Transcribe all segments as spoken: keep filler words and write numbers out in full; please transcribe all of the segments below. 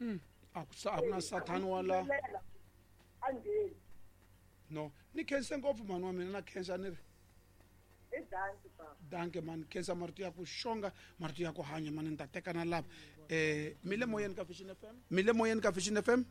Mm. A ku sa a ku na sathani wala. A ngheni. No, ni khense ngopfu mhani wa mina na khensa ni ri. I danki baba. Danke mani, khensa marito ya ku xonga, marito ya ku hanya mani ni ta teka na lava. Eh, mi le moyeni ka Vision F M? Mi le moyeni ka Vision F M?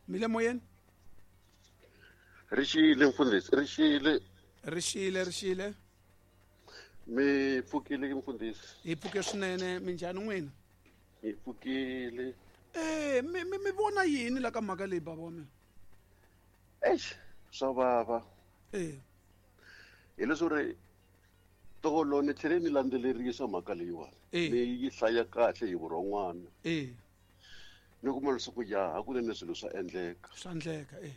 Mi le moyeni? Rixile mfundhisi, rixile. Rixile, rixile. Mi pfukile mfundhisi. Hi pfuke swinene, minjhani n'wina? Hi pfukile. Eh, mi, mi, mi vona yini la ka mhaka leyi baba wa mina? Eish, swa vava. Eh. Hi leswo ri tolo ni tlhele ni landzelerisa mhaka leyiwani. Eh. Ni yi hlaya kahle hi vurhon'wana. Eh. Ni kuma leswaku ya hakunene swilo swa endleka. Swa endleka, eh.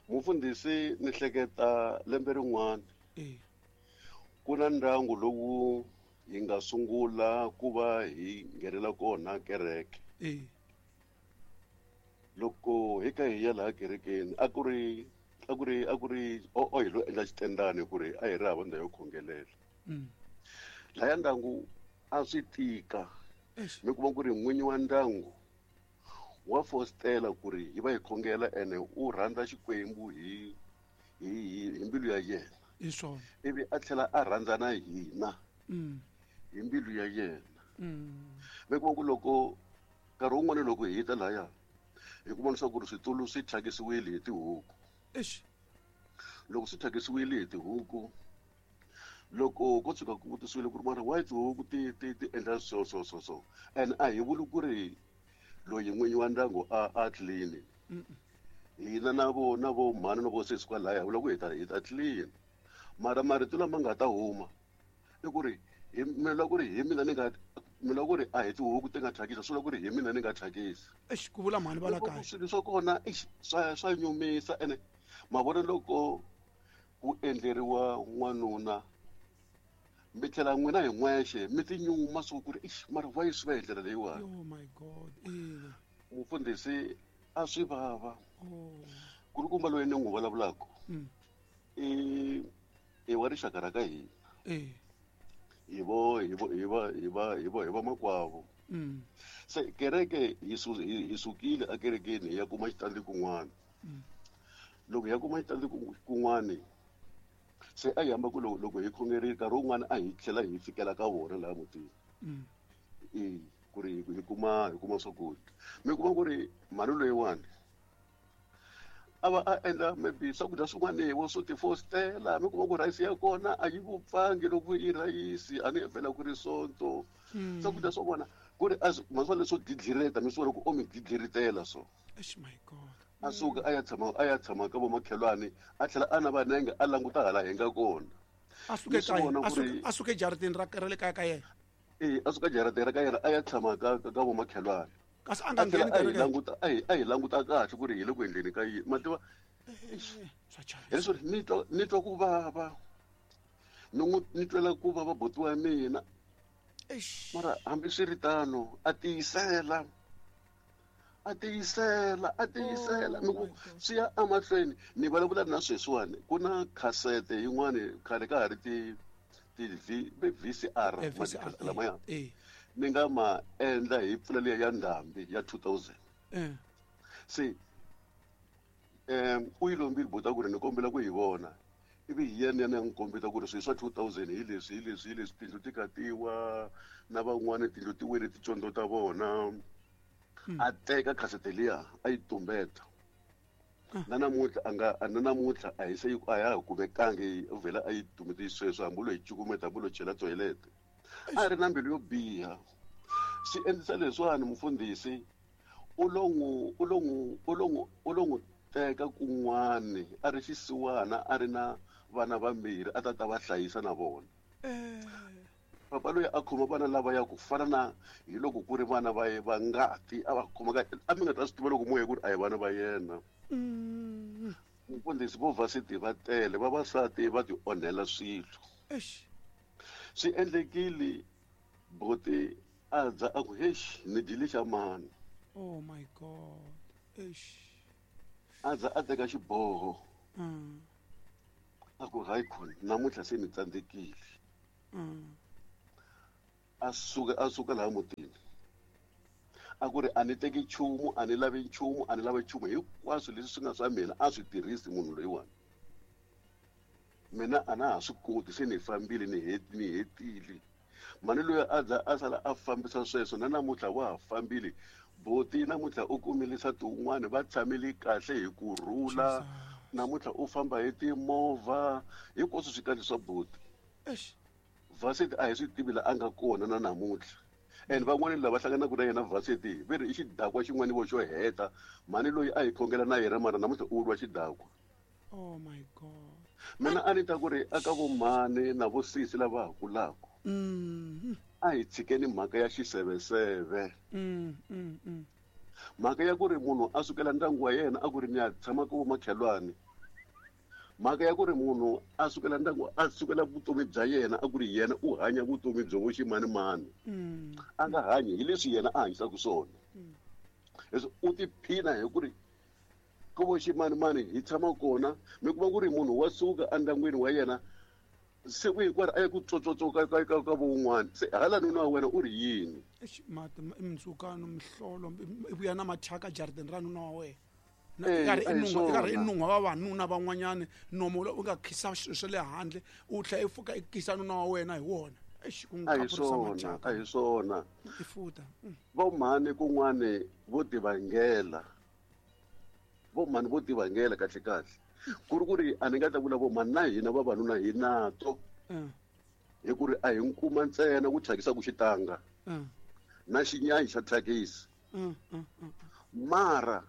Mufundhisi ni hleketa lembe rin'wana. Eh. Ku na ndyangu lowu hi nga sungula ku va hi nghenela kona kereke. Eh. Loko hi kha hi ya laha kerekeni a ku ri a ku ri a ku ri o o hi lo endla xitendani ku ri a hi ri hava ndhawu yo khongelela. Mm. Laya ndyangu a swi tika. Eish. Mi kuma ku ri n'winyi wa ndyangu wa fostela ku ri hi va hi khongela ene u rhandza Xikwembu hi, hi, hi, hi mbilu ya yena. Hi swona. Ivi a tlhela a rhandza na hina Mm. hi mbilu ya yena. Mm. Mi kuma ku loko nkarhi wun'wani loko hi ta lahaya hi kuma leswaku ri switulu swi thyakisiwile hi tihuku. Eish. Loko swi thyakisiwile hi tihuku, loko ko tshuka ku vutisiwile ku ri mara why tihuku ti, ti, ti endla so, so, so, so. And a hi vuli ku ri loyi n'winyi wa ndyangu a, a clean. Mm-mm. Hina na vo, na vo mhani na vo sesi kwalaya hi vula ku hi ta, hi ta clean. Mara marito lama nga ta huma i ku ri hi mina loko ku ri hi mina ni nga, mina loko ku ri a hi tihuku ti nga thyakisa, swi vula ku ri hi mina ni nga thyakisa. Eish, ku vula mhani va la Loko kaya. swilo swa kona, eish, swa, swa nyumisa ene ma vona loko ku endleriwa n'wanuna mi tlhela n'wina hi n'wexe mi tinyuma swo ku ri eish, mara why swi va hi ndlela leyiwani? Oh my God, ina. Mufundhisi a swi vava. Oh. Kulukumba loyi ni n'wi vulavulaka Mm. i, i wa rixaka ra ka hina. Eh. Hi vo, hi vo, hi va, hi va, hi vo, hi va makwavo. Mm. Se kereke hi su-, hi, hi sukile ekerekeni hi ya kuma xitandi kun'wana. Mm. Loko hi ya kuma xitandi ku-, kun'wana, se a hi hamba ku loko, loko hi khongerile nkarhi wun'wana a hi tlhela hi fikela ka vona laha mutini. Mm. E, ku ri hi kuma, hi kuma swakudya. Mi kuma ku ri mhani loyiwani a va a endla maybe swakudya swin'wana wo swo tifostela, mi kuma ku rhayisi ya kona a yi vupfangi loko i rhayisi, a ni vhela ku ri sonto. Mm. Swakudya swa vona ku ri a swi, ma swi vona leswo dlidlireta, mi swi vona ku o mi dlidliritela so. Eish, my God. A suka a ya tshama, a ya tshama ka vomakhelwani, a tlhela a na vanenge a languta hala hi nga kona. A suke Ni swi kaya, vona a ku ri suke, a suke jarateni ra, ra le kaya ka yena. E, a suka jarateni ra ka yena a ya tshama ka, ka, ka vomakhelwani. Kasi a nga A tlhela ngheni a hi kereke. languta, a hi, a hi languta kahle ku ri hi le ku endleni ka yini. Ma tiva, Eh, swa chavisa. hi leswo ni twa, ni twa ku vava. Ni n'wi, ni twela ku vava buti wa mina. Eish. Mara hambiswiritano a tiyisela. A tiyisela, a tiyisela. Oh Mi ku my God. swi ya emahlweni. Ni vulavula na sweswiwani, ku na khasete yin'wani khale ka ha ri ti, ti V, V C R, Eh, V C R, makhasete lamaya. eh, eh. Ni nga ma endla hi mpfula liya ya ndhambi ya two thousand. Eh. Se, em, u yi lombile buti ku ri ni kombela ku yi vona. Ivi hi yena ya n'wi kombeta ku ri swilo swa two thousand hi leswi, hi leswi, hi leswi, tindlu ti katiwa na van'wani tindlu ti wele ticondzo ta vona. Mm. A teka khasete liya a yi tumbeta. Ah. Na namuntlha a nga, a na namuntlha a hi se yi, a ya ha kumekangi, u vhela a yi tumbete sweswo, hambi lo yi cukumeta, hambi lo chela toilet. A ri na mbilu yo biha. Swi endlisa leswiwani mufundhisi u lo n'wi, u lo n'wi, u lo n'wi, u lo n'wi teka kun'wani a ri xisiwana, a ri na vana vambirhi a ta ta va hlayisa na vona. Eh. Papa loyi a khoma vana lava ya ku fana na hi loko ku ri vana va ye va ngati, a va khoma ka, a mi nga ta swi tiva loko mo ye ku ri a hi vana va yena. Mm. Mufundhisi vo varsity va tele, vavasati va ti onhela swilo. Eish. Swi endlekile buti a dza a ku, Eish, ni dyile xa mani. Oh my God. Eish. A dza a teka xiboho. Mm. A ku, hayi khona, namuntlha se ni tsandzekile. Mm. A suka, a suka laha mutini. A ku ri a ni teki nchumu, a ni lavi nchumu, a ni lavi nchumu, hinkwaswo leswi swi nga swa mina a swi tirhisi munhu loyiwani. Mina a na ha swi koti, se ni fambile, ni ni hetile. Mhani loyi a za a sala a fambisa sweswo, na namuntlha wa ha fambile. Boti namuntlha u kumile nsati wun'wana, va tshamile kahle hi kurhula. Namuntlha u famba hi timovha, hinkwaswo swi kahle swa boti. Varsity a hi swi tivi la a nga kona na namuntlha. And van'wani lava hlanganaka na yena varsity va ri i xidakwa xin'wana vo xo heta. Mhani loyi a hi khongela na yena, mara namuntlha u lwa xidakwa. Oh my God. Mina a ni ta ku ri aka vo mhani na vo sisi lava ha kulaka, a hi tshikeni mhaka ya xiseveseve. Mhaka ya ku ri munhu a sukela ndyangu wa yena a ku ri ni ya tshama ka vomakhelwani. Mhaka ya ku ri munhu a sukela ndyangu, a sukela vutomi bya yena a ku ri yena u hanya vutomi byo vo ximanimani. A nga hanyi hi leswi yena a hanyisaka swona. Leswi u tiphina hi ku ri ku vo ximanimani hi tshama kona, mi kuma ku ri munhu wa suka endyangwini wa yena siku hinkwaro a ya ku tsotsotso ka ka ka ka vo un'wana. Se hala nuna wa wena u ri yini? Eish, mati, i mindzhukano, mihlolo, i vuya na mathyaka jarideni ra nuna wa wena. Na Eh, i karhi a i hi nun'hwa, i karhi i swona. nun'hwa vavanuna van'wanyani, nomo lowu u nga khisa swilo swa le handle, u tlhela i pfuka i kisa nuna wa wena hi wona. Eish, ku n'wi A hi khapurisa swona, mathyaka. a hi swona. I futa. Mm. Vo mhani kun'wani vo tivangela. Vo mhani vo tivangela kahle kahle. Ku ri ku ri a ni nga ta vula vo mhani, na hina vavanuna hi nato. Mm. Hi ku ri a hi nkuma ntsena ku thyakisa ku xitanga. Mm. Na xinyanyi xa thyakisi. Mm, mm, mm. Mara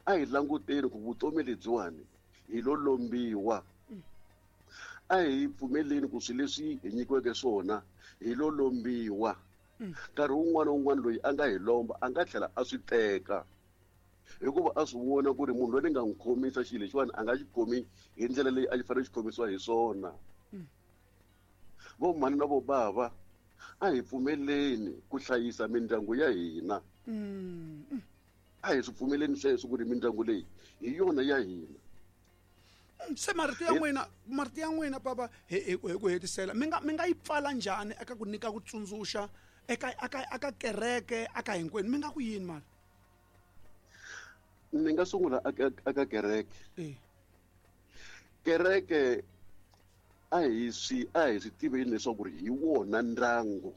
a hi languteni ku vutomi lebyiwani hi lo lombiwa. A hi pfumeleni ku swilo leswi hi nyikiweke swona hi lo lombiwa. Nkarhi wun'wana na wun'wana loyi a nga hi lomba a nga tlhela a swi teka, hikuva a swi vona ku ri munhu loyi ni nga n'wi khomisa xilo lexiwani a nga xi khomi hi ndlela leyi a xi fanele xi khomisiwa hi swona. Vo mhani na vo bava, a hi pfumeleni ku hlayisa mindyangu ya hina. A hi swi pfumeleni sweswo ku ri mindyangu leyi hi yona ya hina. Se marito ya n'wina, marito ya n'wina baba, hi, hi, hi ku hetisela, mi nga, mi nga yi pfala njhani eka ku nyika ku tsundzuxa eka, eka, eka kereke, eka hinkwenu, mi nga ku yini mara? Ni nga sungula eka, eka kereke. Eh. Kereke a hi swi, a hi swi tiveni leswaku ri hi wona ndyangu.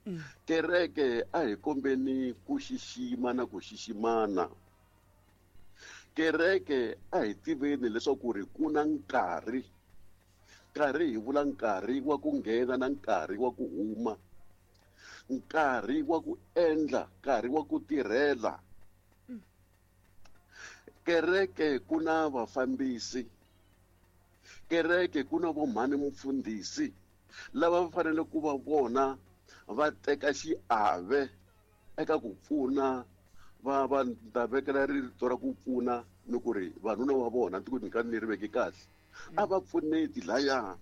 Mm. Kereke a hi kombeni ku xixima na ku xiximana. Kereke a hi tiveni leswaku ri ku na nkarhi. Nkarhi hi vula nkarhi wa ku nghena na nkarhi wa ku huma. Nkarhi wa ku endla, nkarhi wa ku tirhela. Kereke ku na vafambisi. Kereke ku na vomhani mufundhisi lava va fanele ku va vona va teka xiave eka ku pfuna va, va ta vekela rito ra ku pfuna ni ku ri vanuna wa vona ni ku ni ka ni ri veki kahle. A va pfuneti laya.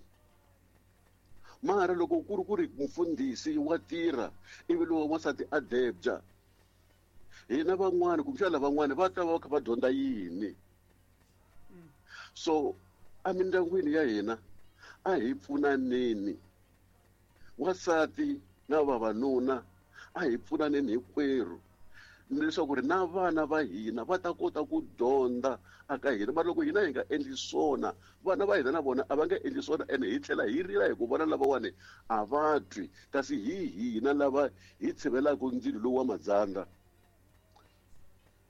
Mara loko ku ri ku ri mufundhisi wa tirha ivi lowa wansati a debya, hina van'wani kumbexana lavan'wani va ta va va kha va dyondza yini? So emindyangwini ya hina a hi pfunaneni, wansati na vavanuna a hi pfunaneni hinkwerhu, leswaku ri na vana va hina va ta kota ku dyondza aka hina. Mara loko hina hi nga endli swona, vana va hina na vona a va nga endli swona, ene hi tlhela hi rila hi ku vona lavawani a va twi, kasi hi hina lava hi tshivelaka ndzilo lowu wa madzandza.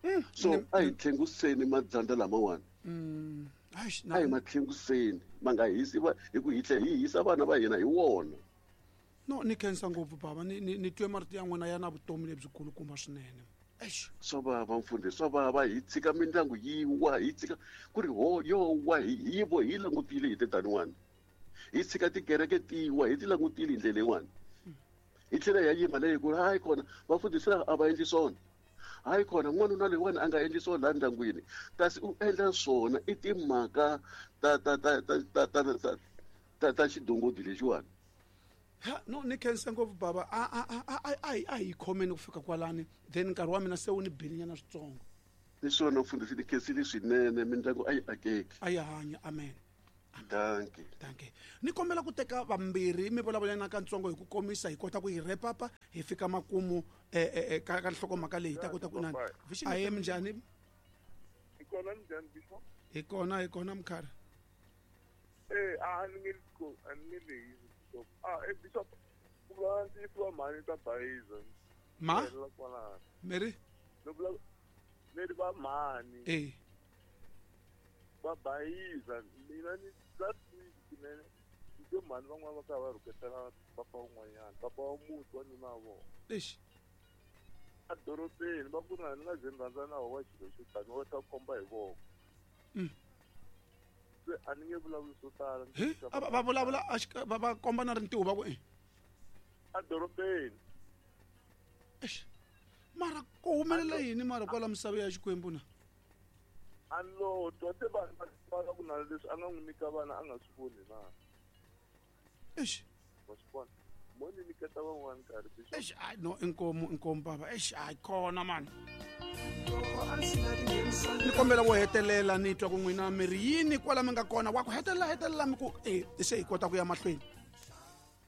Mm, So ni- a hi tlhenguseni madzandza lamawani. Mm. Eish, A hi na- ma tlhenguseni, ma nga hisi va, hi ku hi tlhela hi hisa vana va hina hi wona. No, ni khensa ngopfu baba, ni, ni, ni twe marito ya n'wina ya na vutomi lebyikulukumba swinene. Eish. Swa vava mfundhisi, swa vava, hi tshika mindyangu yi wa, hi tshika ku ri ho yo wa, hi, hi vo hi langutile hi tetaniwani. Hi tshika tikereke ti wa, hi ti langutile hi ndlela yin'wani. Hi tlhela hi ya yima leyi ku ri hayi kona vafundhisi lava a va endli swona. Hayi kona n'wanuna loyiwani a nga endli swona laha ndyangwini, kasi u endla swona i timhaka ta, ta, ta, ta, ta, ta, ta, ta, ta xidongodi lexiwani. Ha, no, ni khensa ngopfu baba, a, a, a, a, a, a, a hi khomeni ku fika kwalani, then nkarhi wa mina se wu ni bilinyana switsongo. Ni swona mfundhisi, ni khensile swinene, mindyangu a yi akeki. A yi hanya, amen. Dankie. Dankie. Ni kombela ku teka vambirhi mi vulavula na kantsongo hi ku komisa hi kota ku yi wrap up hi fika makumu eh eh ka ka nhlokomhaka leyi ta kota ku nani. A ye minjhani? Hi kona minjhani Bishop? Hi kona hi kona mkhari. Eh a ni nge ko a ni nge leyi Bishop. Ah eh Bishop ku vula ntiyiso wa mhani ta bayiza. Ma? Mary? No vula Mary va mhani. Eh. Va bayiza mina ni last week kunene ndzi mhani van'wana va kha va rhuketela papa un'wanyana papa wa muti wa nuna wa vona. Eish. A dorobeni va ku na ni nga ze ni rhandza na wa xilo xo tani wa ta komba hi voko. Mm. Se a ni nge vulavuli swo tala. Va vulavula va va komba na rintiho va ku e. A dorobeni. Eish. Mara ku humelela yini mara kwala misava ya Xikwembu na? A lo twa se vanhu va va ku na leswi a nga n'wi nyika vana a nga swi voni na. Eish. Wa swi vona. Mo ni nyiketa van'wana nkarhi Bishop. Eish, ai no inkomu inkomu baba. Eish, ai khona man. Ni kombela wo hetelela ni twa ku n'wina mi ri yini kwala mi nga kona wa ku hetelela hetelela mi ku eh se hi kota ku ya mahlweni.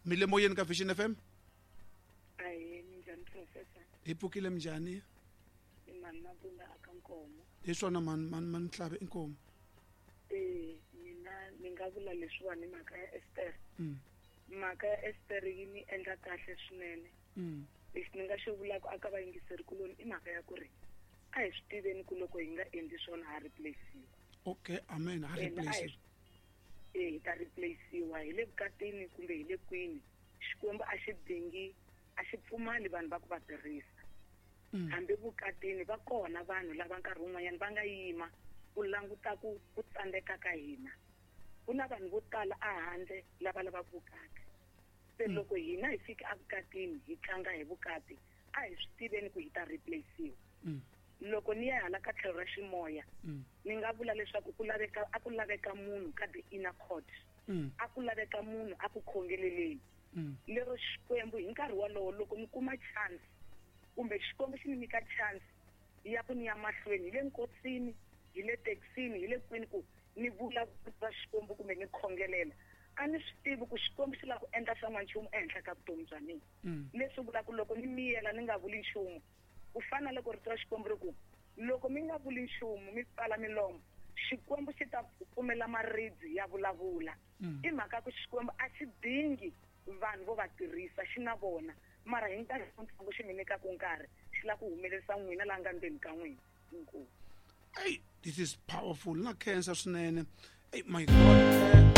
Mi le moyeni ka Vision F M? Ahe minjhani professor? Hi pfukile minjhani? I mani Mabunda aka Nkomo. Hi swona mani mani mani Mhlavi inkomo. Eh mina ni nga vula leswiwani mhaka ya Esther. Mm. Mhaka ya Esther yi ni endla kahle swinene. Mm. Lexi ni nga xi vulaka aka vayingiseri kuloni i mhaka ya ku ri a hi swi tiveni ku loko hi nga endli swona ha replace-iwa. Okay, amen, ha replace. Eh hi ta replace-iwa hi le vukatini kumbe hi le kwini. Xikwembu a xi dingi a xi pfumali vanhu va ku va tirhisa. Hambi vukatini va kona vanhu lava nkarhi wun'wanyana va nga yima ku languta ku ku tsandzeka ka hina. Ku na vanhu vo tala ehandle lava lavaka vukati. Se loko hina hi fika evukatini hi tlanga hi vukati a hi swi tiveni ku hi ta replace-iwa. Loko ni ya hala ka tlhelo ra ximoya ni nga vula leswaku ku laveka a ku laveka munhu ka the inner court. A ku laveka munhu a ku khongeleleni. Lero Xikwembu hi nkarhi wolowo loko ni kuma chance kumbe Xikwembu xi ni nyika chance ya ku ni ya mahlweni hi le nkosini hi le taxini hi le kwini ku ni vula va Xikwembu kumbe ni khongelela a ni swi tivi ku Xikwembu xi lava ku endla xan'wanchumu ehenhla ka vutomi bya mina. Leswi vulaka loko ni miyela ni nga vuli nchumu ku fana loko rito ra Xikwembu ri ku loko mi nga vuli nchumu mi pfala milomo Xikwembu xi ta pfumela maribye ya vulavula. I mhaka ku Xikwembu a xi dingi vanhu vo va tirhisa xi na vona mara hi nkarhi wutsongo xi mi nyikaka nkarhi xi lava ku humelerisa n'wina laha nga ndzeni ka n'wina. Inkomu. Hey, this is powerful. Na khensa swinene. Hey, my God.